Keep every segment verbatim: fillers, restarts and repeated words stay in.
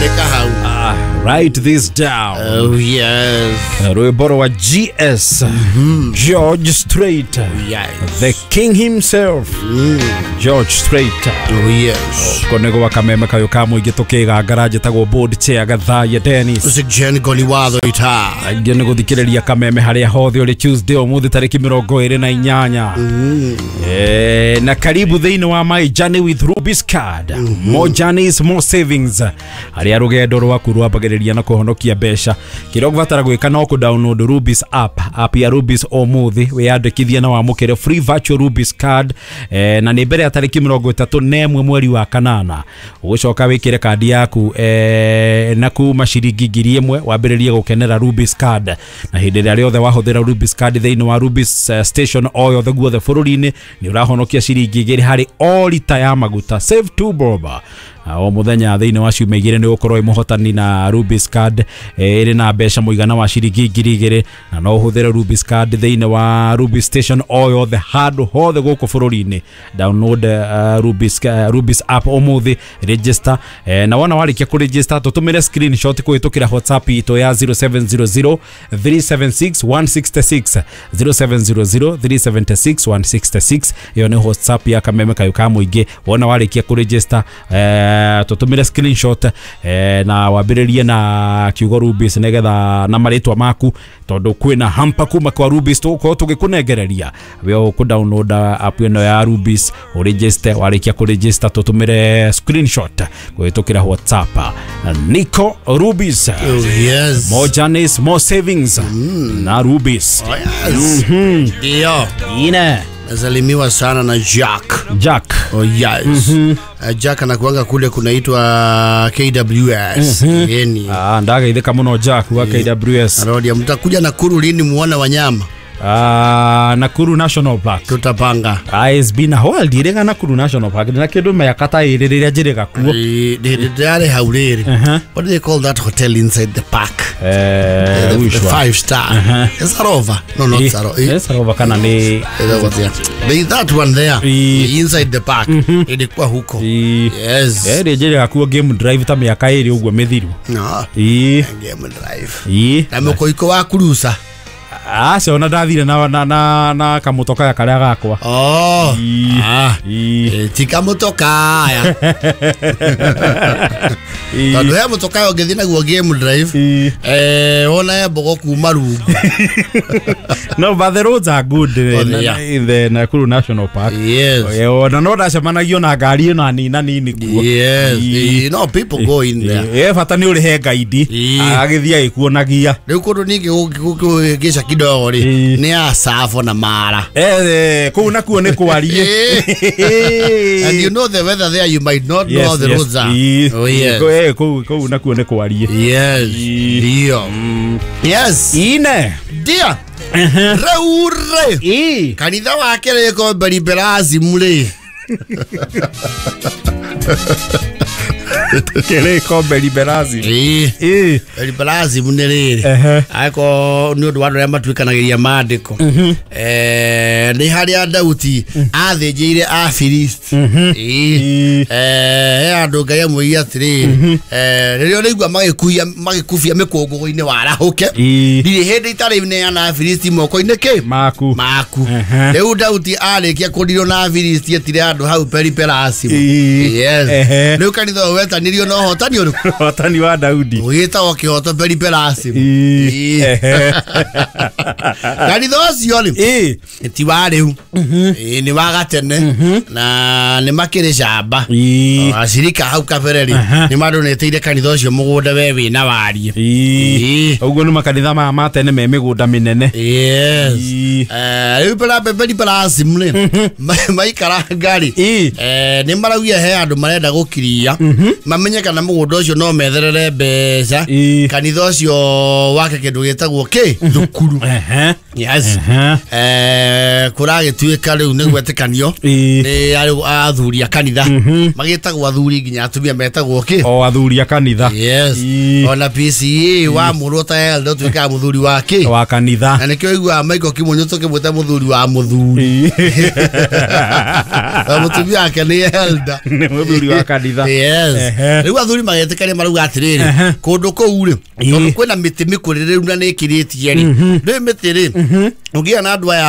Andĩka hau. Ah, write this down. Oh yes. Rwĩmbo rwa G S mm-hmm. George Strait. Yes. The king himself. Mm. George Strait. Oh yes. Kone gwa kameme kayo ka mũingĩ tũkĩgangara njĩtagwo board chair Gathaiya Dennis. Jen Goliwatho ita. Aingĩ nĩ gũthikĩrĩria kameme harĩa hothe ũrĩ Tuesday ũmũthĩ tarĩki mĩrongo ĩrĩ na inyanya. Mm. Eh, na karibu thĩinĩ wa My Journey with Rubis Card. Mm -hmm. More journeys, more savings. Harĩa rũgendo rwaku rwambagĩrĩria na kũhonokia mbeca. Kĩrĩa ũgũbatara gwĩka no kũ download Rubis app, app ya Rubis ũmũthĩ, wĩyandĩkithie na wamũkĩre free virtual Rubis card, eh, na nĩ mbere ya tarĩki mĩrongo ĩtatũ na ĩmwe mweri wa kanana. Ũgũcoka wĩkĩre kandi yaku eh, na kuma ciringi ngiri ĩmwe wambĩrĩrie gũkenera Rubis card. Na hĩndĩ ĩrĩa rĩothe wahũthĩra Rubis card thĩinĩ wa Rubis uh, station o yothe guothe bũrũri-inĩ nĩ ũrahonokia ciringi igĩrĩ harĩ o rita ya maguta. Save two bob. O muthenya thĩinĩ wa ciumia igĩrĩ nĩ ũgũkorwo wĩ mũhotani na Rubis card ĩrĩ na mbeca mũigana wa ciringi ngiri igĩrĩ, na no ũhũthĩre Rubis card thĩinĩ wa Rubis station o yothe handũ hothe gũkũ bũrũri-inĩ. Download uh, Rubis, uh, Rubis app ũmũthĩ, register, eh, na wona warĩkia kũregister tũtũmĩre screenshot kũhĩtũkĩra WhatsApp itũ ya zero seven zero zero three seven six one six six, zero seven zero zero three seven six one six six. Ĩyo nĩ WhatsApp ya kameme kayo ka mũingĩ. Wona warĩkia kũregister eh, tutumire screenshot eh, na wambĩrĩrie na kiugo Rubis nĩgetha na marĩtwa maku, tondũ kwĩna hampa kuma kwa Rubis tũgũkorwo tũgĩkũnengereria. We ũkũ download app ĩno ya Rubis, ũregister, warĩkia kũregister tũtũmĩre screenshot kũhĩtũkĩra WhatsApp. Nico Rubis. Oh yes. More journeys, more savings. Mm. Na Rubis. Oh yes. Mhm. Ndio. Ine. Nasalimiwa sana na Jack. Jack. Oh yes. Mm -hmm. Uh, Jack anakuanga kule kunaitwa K W S. Mm -hmm. Yeni. Ah, ndagaithika muno Jack wa K W S. Arodia mtakuja Nakuru lini muone wanyama? Ah, Nakuru National Park. Tutapanga. Ah, it's been a while ndirega Nakuru National Park. Na kindu miaka ta ĩrĩ rĩrĩa njĩrĩga kuo. Ndĩrarĩ hau rĩrĩ. What do they call that hotel inside the park? Eh, the, which the one? Five star. Uh -huh. Is Sarova? No, not Sarova. Yes, Sarova kana ni They that one there. I, inside the park. Mm -hmm. Ilikuwa huko. I, Yes. Eh, njĩrĩga kuo game drive ta miaka ĩrĩ ũguo mĩthiru. No. I, Game drive. I. Na mũkoiko wa kurusa. Ah, se ona ndathire na na na, na kamutoka ya karia gakwa. Oh. I, ah. I. Ti kamutoka ya. Tondu he mutoka ũngĩthiĩ naguo game drive. Eh, wona he mbogo kuma rungu. No, but the roads are good in, oh, yeah. in the Nakuru National Park. Yes. Eh, ona no ndacemanagio na ngari ĩno nina nini kuo. Yes. You know people go in there. Eh, bata nĩ ũrĩhe guide. Agagĩthiĩ agĩkuonagia. Rĩu kũndũ ningĩ gũkĩgĩca kidogo rĩ nĩ Asafo na Mara. Eh, kũu nakuo nĩ kwarie. And you know the weather there, you might not yes, know the yes. roads are. Oh yes. Eh, kũu kũu nakuo nĩ kwarie. Yes. Ndio. Yes. Ine. Ndio. Rĩu rĩ. Kanitha wa Kĩrĩko Beriberazimu rĩ. Kĩrĩko Beriberazimu. Ĩĩ. Ĩĩ. Beriberazimu nĩ rĩrĩ. Aiko nĩ ũndũ wa andũ arĩa matuĩkanagĩria maandĩko. Eh, nĩ harĩa Daudi athĩnjĩire Afilisti. Ĩĩ. Eh, andũ Ngai amwĩrire atĩrĩrĩ, eh, rĩrĩa ũrĩigua magĩkuia magĩkubia mĩkũngũgũ-inĩ warahũke. Ndirĩ hĩndĩ itarĩ neana Afilisti moko-inĩ kĩ? Maku. Maku. Rĩu Daudi arĩkia kũndirwo na Afilisti etire andũ hau Beriberazimu. Yes. Rĩu kanitha ũyũ wetanirio na ũhotani ũrĩkũ? Ũhotani wa Daudi. Ũgĩtagwo kĩhoto Beriberazimu. Kanitha ũcio rĩ ti wa rĩu, nĩ wa gatene na nĩ makĩrĩ camba. Acirika hau kabere rĩ nĩ mandonĩtĩire kanitha ũcio mũgũnda we wĩna wariĩ. Ũguo nĩ makanitha maya ma tene me mĩgũnda mĩnene. Yes. Rĩu Beriberazimu rĩ maikaranga rĩ nĩ maraugia he andũ marenda gũkiria mamenye kana mũgũnda ũcio no metherere mbeca kanitha ũcio wake kĩndũ gĩtagwo kĩ thukuru. Yes. Eh kuragituika riu ni gwetikanio ni athuri a kanitha magitagwo athuri nginya atumia metagwo ki o athuri a kanitha. Yes. Ona P C A wa murwo ta elder tuika muthuri wa ki wa kanitha na nikio igua Michael Kimunyu tukimwita muthuri wa muthuri mutumia ake ni elder ni muthuri wa kanitha. Yes. Riu athuri magetikania marauga atiriri kundu kuu ri tondu kwina miti mikuririru na ni ikiritie ri ri miti ri ugia na andu aya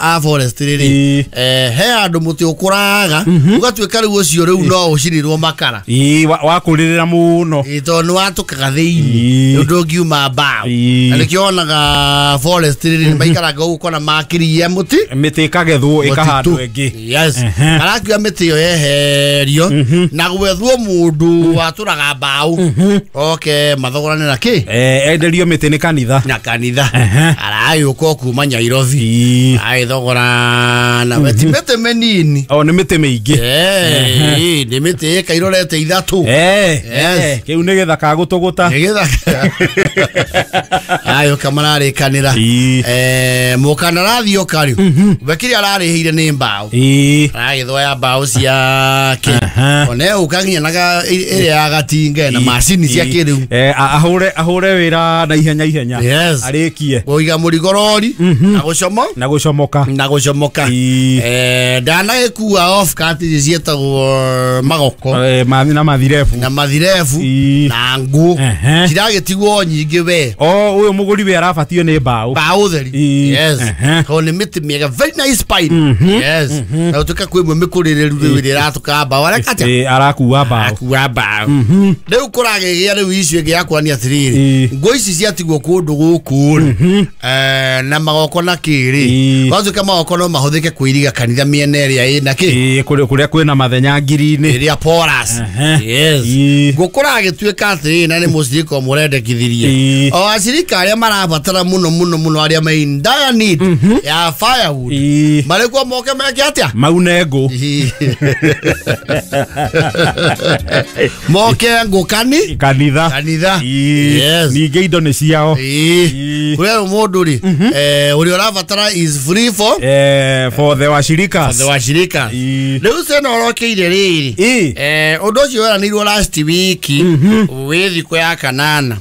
a forest riri eh he andu muti ukuraga ugatuika riu ucio riu no ucirirwo makara ii wakuririra muno ii tondu watukaga thiini undu ngiuma mbao na nikio onaga forest riri maikaraga uguo kona makirie muti miti ikagethwo ikahandwo ingi. Yes. Arakiuga miti iyo yeherio na gwethwo mundu waturaga mbao oke mathogorane na ki eh enderio miti ni kanitha na kanitha arayuka kuma Nairobi aithogora na miti miti menini o ni miti miingi eh ni miti ikairorete ithatu eh eh kiu ni githaka gutuguta ni githaka ayo kamararikanira eh mukanarathi okari wekiri ararihire ni mbao aragithoya mbao ciake one ukaginya naga ire ya gatinge na macini cia kiriu eh ahure ahure wira na ihenya ihenya arikie kuiga murigorori na gucomo na gucomoka na gucomoka eh ndanagikua off cut cietagwo magoko eh na mathirebu na mathirebu na ngu ciragitigwo nyingi we o uyu muguri we arabatio ni mbao mbao theri. Yes. Ko ni miti miega very nice pine. Yes. Na utuka kwimwe mikuririru riu iratuka mbao arekata eh arakua mbao akua mbao riu kuragigia riu icio ingi yakwania atiriri ngo ici ciatigwo kundu guku eh na magoko na kiri gwatuka magoko no mahuthike kuiriga kanitha miena ĩrĩa ĩna ki eh kuria kwina mathenya ngiri-inĩ ĩrĩa porous. Yes. Gũkũragĩtuĩka atĩrĩrĩ na nĩ mũcirika ũmũrendekithirie o acirika arĩa marabatara mũno mũno mũno arĩa me in dire need ya firewood marĩkuo moke meke atĩa maune ngũ moke ngũ kani kanitha kanitha. Yes. Ningĩ indo nĩ ciao kũrĩa mũndũ rĩ eh ũrĩa ũrabatara is free for eh for the washirika for the washirika rĩu cena ũrokeire rĩrĩ eh ũndũ ũcio weranĩirwo last week wĩ thikũ ya kanana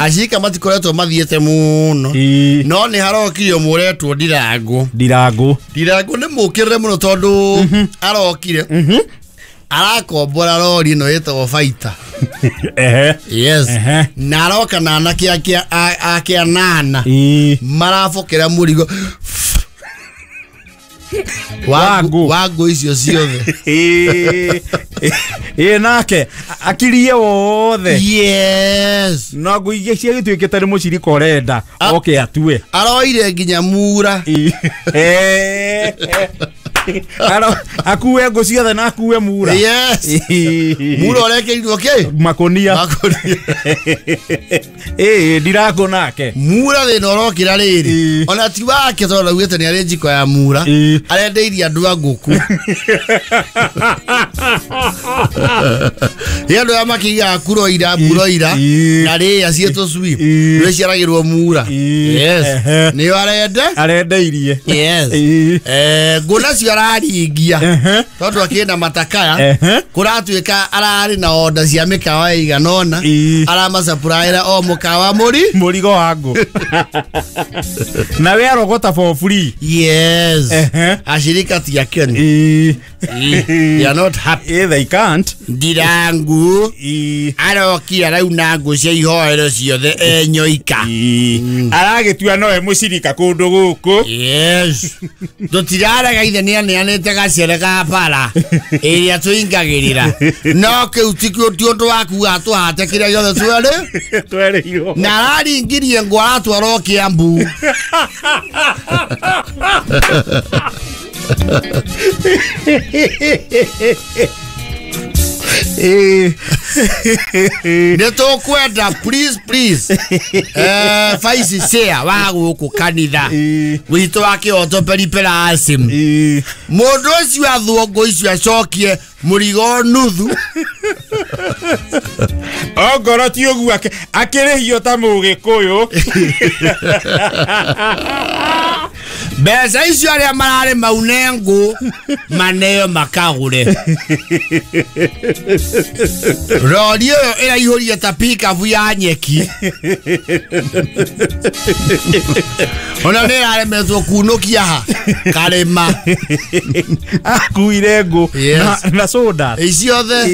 acirika matikoretwo mathiĩte mũno no nĩ harokire mũretwo Ndirango Ndirango Ndirango nĩ mũkĩrĩre mũno tondũ arokire arakombora rori ĩno ĩtagwo Fighter. Ehe. Yes. Na aroka na anake ake ake anana marabokera mũrigo wangu wangu icio ciothe ĩ nake akirie wothe. Yes. Na ngũ ingĩ ciagĩtuĩkĩte nĩ mũcirika ũrenda oke atue aroire nginya mura Aro akuwe ngũ ciothe na akuwe mura. Yes. Mura ũrekeirwo kĩ makonia makonia ĩ Ndirango nake mura thĩna ũrokĩra rĩrĩ ona ti wake tondũ augĩte nĩ arĩ njiko ya mura arendeirie andũ a ngũkũ nĩ andũ aya makĩigaga kuroira mburoira na rĩa ciĩ tũcui nĩciaragĩrwo mura. Yes. Nĩyo arende arendeirie. Yes. Eh ngũ nacio araringia tondu akina matakaya kuratuika arari na order cia mikawa igana ona aramacapuraira o mukawa muri murigo wa ngũ na we arogota for free. Yes. Ashirika ti akeni they are not happy. They can't. Ndirangu arokira arauna ngũ cia ihoero ciothe enyoika aragitua nowe mucirika kundu guku. Yes. Tutirarega ithe ni aneanite gacere ga bara ĩrĩa tũingagĩrĩra no kĩu ti ũndũ wa kuga tũhate kĩrĩa gĩothe twerĩ twerĩirwo na araringirie ngũ aratwarwo Kiambu. Nĩ tũkwenda please please eh vice chair wa gũkũ kanitha witũ wa Kĩhoto Peripera Asim mũndũ ũcio athwo ngũ icio acokie mũrigo nuthu Ongorwo ti ũguo akĩrĩhio ta mũgĩkũyũ. Mbeca icio arĩa mararĩ maune ngũ maneo makagũre. Rori ĩyo ĩraihũria ta pikabu ya nyeki. Ona nĩ ĩraremetwo kunũkia ha karĩma. Akuire ngũ Yes. na, na soda Ciothe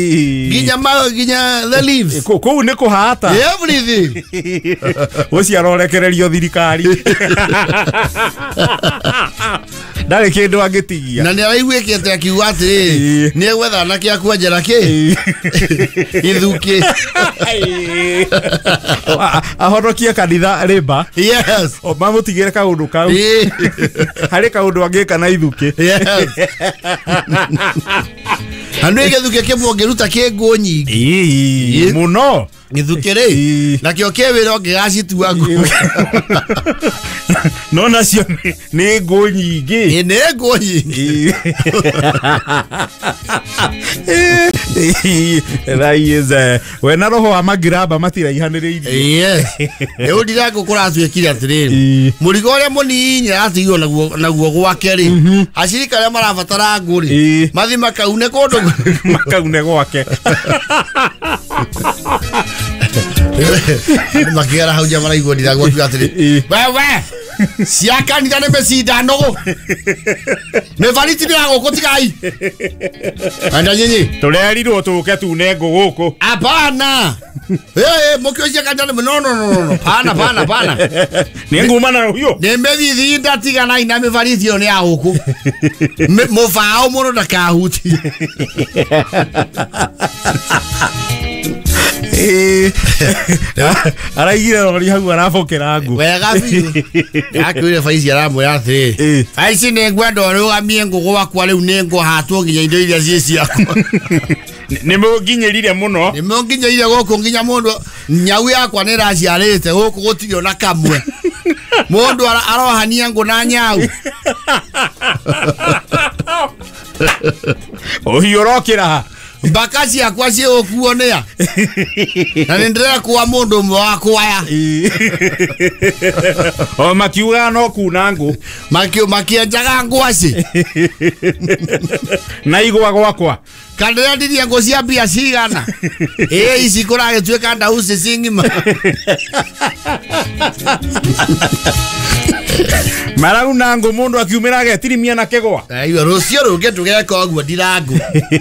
nginya ma nginya the leaves. Kũu nĩ kũhata. Everything. Ũcio arorekererio thirikari. Ndarĩ kĩndũ angĩtigia. Na nĩ araiguĩkĩte akiuga atĩrĩrĩ nĩ egwetha anake a kwenjera kĩ ithukĩ. Ahonokie kanitha rĩmba. Yes. O mamũtigĩre kaũndũ kau. Harĩ kaũndũ angĩka na ithukĩ. Yes. Andũ gĩthukĩ kĩmwe ũngĩruta kĩ ngũ nyingĩ. Mũno. Gĩthukĩ rĩ nakĩo kĩ wĩra ũngĩgacitua ngũ. No nacio nĩ ngũ nyingĩ. Nĩ ngũ nyingĩ. That we na roho wa magiraba matiraihanĩrĩirie. Yes. Rĩu ndirangũ kũratuĩkire atĩrĩrĩ mũrigo ũrĩa mũnini aratigirwo naguo naguo gwake rĩ acirika arĩa marabatara ngũ rĩ mathi makaune kũndũ makaune gwake. Andũ makĩgera hau nja maraigua ndirangũ akiuga atĩrĩ wewe cia kanitha nĩ mĩcinda nũgũ mĩbariti nĩ ya gũkũ tigai enda nyinyi tũrerirwo tũke tune ngũ gũkũ. Hapana. Eh mũkĩo cia kanitha nĩ no no no no pana pana pana nĩ nguma na rũhiũ nĩ mĩthithi ndatiganai na mĩbariti ĩyo nĩ ya gũkũ mũbaũ mũno ndakahutie. Araigire rori hau arabokera ngũ wega biũ. Akuire baici aramwĩra atĩrĩ baici nĩ ngwenda ũrũgamie ngũ gwakwa rĩu nĩ ngũhatwo nginya indo iria ciĩ ciakwa. Nĩ mũnginyĩrire mũno. Nĩ mũnginyĩrire gũkũ nginya mũndũ nyau yakwa nĩ ĩraciarĩte gũkũ gũtirĩ ona kamwe. Mũndũ arohania ngũ na nyau. Ũhiũ ũrokĩra ha mbaka ciakwa ciĩgũkuo nĩa na nĩ ndĩrekua mũndũ ũmwe wa kwaya. O makiugaga no kuna ngũ makĩenjaga ngwacĩ na igwa gwakwa kana ndĩrendirie ngũ cia mbia cigana ĩ ici kũragĩtuĩka ndauci ci ng'ima. Marauna ngũ mũndũ akiumĩra agetirimia na kĩgwa. Aiwa rũciũ rũngĩ tũgeka ũguo ndirangũ.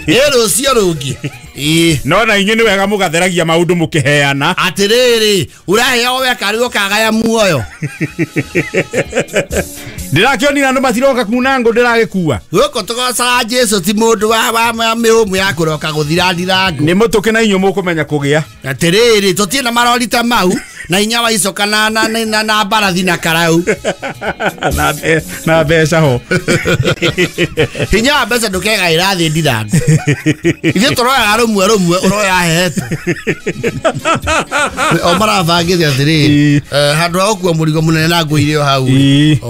Ĩ rũciũ rũngĩ. Ĩ no na inyuĩ nĩ wega mũgatheragia maũndũ mũkĩheana. Atĩrĩrĩ ũraheo weka rĩu ũkagaya muoyo. Ndĩrakĩonire andũ matiroka kuna ngũ ndĩragĩkua. Gũkũ tũgocaga Jesũ ti mũndũ wa wa mĩhũmũ ya kũroka gũthira ndirangũ. Nĩ mũtũkĩ na inyuĩ mũkũmenya kũgĩa. Atĩrĩrĩ tũtirĩ na marori ta mau na hinya wa icoka na na na na mbarathi na karau na na mbeca ho. Hinya wa mbeca ndũkegaĩra thĩ ndirangũ. Ithuĩ tũroyaga rũmwe rũmwe ũroya hehetwo. O marabangĩte atĩrĩrĩ handũ ha gũkua mũrigo mũnene na ngũ irĩ o hau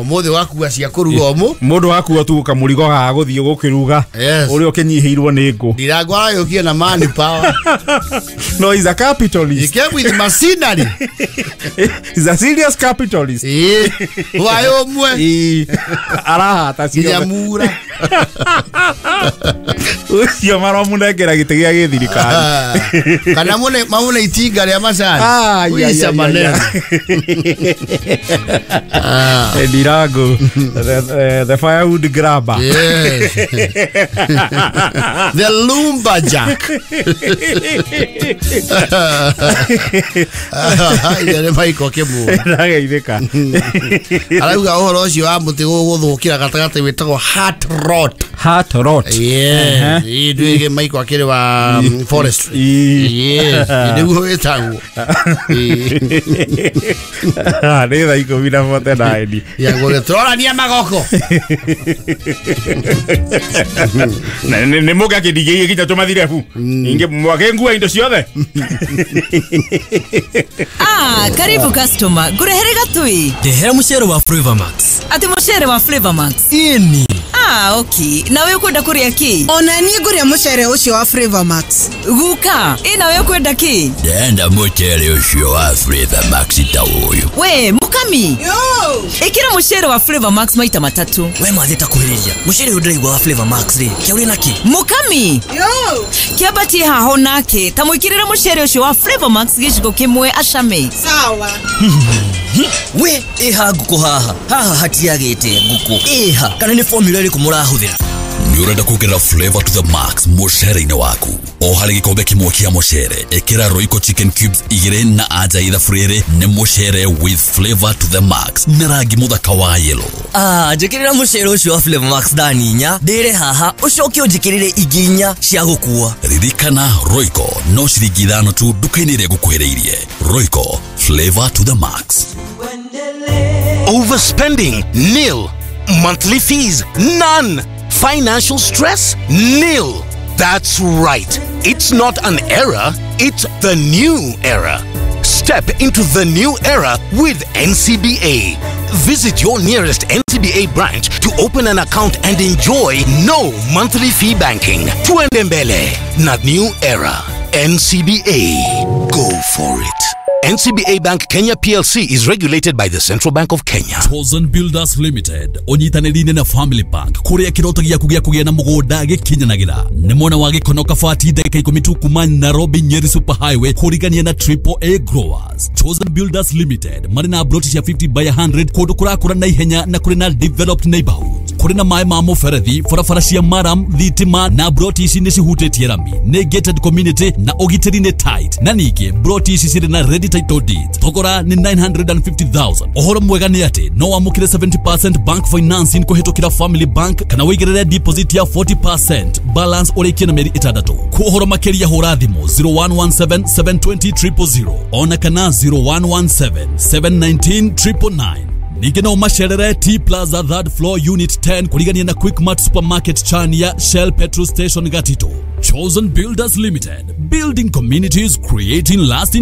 ũmũthĩ wakua cia kũruga ũmũ mũndũ akua tu kamũrigo ga gũthiĩ gũkĩruga ũrĩa ũkĩnyihĩirwo nĩ ngũ. Ndirangũ aragĩũkire na money power. No he's a capitalist. He came with machinery. He's a serious capitalist. Eh, why ũmwe arahata nginya mura. Ũcio maramũnengera gĩtĩ gĩa gĩthirikari kana mũne mamũne itinga rĩa macani. Uica maneno. Ndirango the, the firewood grabber. Yes. The lumberjack. Ire maiko kĩmũ. Ndageithĩka. Arauga ũhoro ũcio wa mũtĩ gũgũthũkĩra gatagatĩ wĩtagwo heart rot. Heart rot. Yes. Ndwĩge maiko akĩrĩ wa forestry. Yes. Nĩguo wĩtagwo. Nĩ thaa ikũmi na bote nine. Ya gũgĩ tũrorania magoko. Nĩ mũgakĩndigĩire nginya tũmathirebu. Ingĩ mwakĩngua indo ciothe. Ah, karibu customer. Ngurehere gatui. Ndehera mucere wa Flavor Max. Ati mucere wa Flavor Max. Ini. Ah, okay. Nawe ukwenda kuria ki? Ona niĩ ngũrĩa mũcere ũcio wa Flavor Max. Guka, ĩ nawe ukwenda ki? Ndenda mũcere ũcio wa Flavor Max ta ũyũ. We, mukami. Yo! Ĩkĩra mũcere wa Flavor Max maita matatu. We mwathĩ ta kuhĩrĩria mũcere ũyũ ndĩraigua wa Flavor Max rĩ kĩa ũrĩ naki? Mukami. Yo! Kĩambatie haho nake ta mwĩkĩrĩre mũcere ũcio wa Flavor Max gĩciko kĩmwe acame. Sawa. We ĩha ngũkũ haha haha hatiagĩte ngũkũ ĩha kana nĩ formula ĩrĩkũ mũrahũthĩra? Nĩ ũrenda kuongerera flavor to the max mũcere-inĩ waku? O harĩ gĩkombe kĩmwe kĩa mũcere ĩkĩra Royco chicken cubes igĩrĩ na anja ithabu rĩrĩ nĩ mũcere with flavor to the max na rangi mũthaka wa yellow. Ah, njĩkĩrĩra mũcere ũcio wa Flavor Max thani inya ndĩre haha ũcoke ũnjĩkĩrĩre ingĩ inya cia gũkua. Ririkana Royco no ciringi ithano tu nduka-inĩ ĩrĩa ĩgũkuhĩrĩirie. Royco, flavor to the max. Overspending, nil. Monthly fees, none. Financial stress, nil. That's right. It's not an era, it's the new era. Step into the new era with N C B A. Visit your nearest N C B A branch to open an account and enjoy no monthly fee banking. Tuende mbele na new era. N C B A. Go for it. N C B A Bank Kenya P L C is regulated by the Central Bank of Kenya. Chosen Builders Limited onyitanĩrĩire na Family Bank kũrĩa kĩroto gĩaku gĩa kũgĩa na mũgũnda gĩkinyanagĩra. Nĩ mwena wa Gĩkono Kabati ndagĩka ikũmi tu kuma Nairobi Nyeri Super Highway kũrigania na Triple A Growers. Chosen Builders Limited marĩ na ploti cia fifty by hundred kũndũ kũrakũra na ihenya na kũrĩ na developed neighborhood. Kũrĩ na maĩ ma mũberethi, barabara cia maram, thitima na ploti ici nĩ cihutĩtie rami. Nĩ gated community na ũgitĩri nĩ tight. Na ningĩ ploti ici cirĩ na ready title deeds. Thogora nĩ nine hundred fifty thousand. Ũhoro mwega nĩ atĩ no wamũkĩre seventy percent bank financing kũhĩtũkĩra Family Bank kana wĩigĩrĩre deposit ya forty percent balance ũrĩkie na mĩeri ĩtandatũ. Kwa ũhoro makĩria hũra thimũ zero one one seven seven two zero triple zero ona kana zero one one seven seven nine triple nine. Ningĩ no macerere T Plaza third floor unit ten kũrigania na Quickmart Supermarket Chania Shell Petrol Station Gatito. Chosen Builders Limited, building communities, creating lasting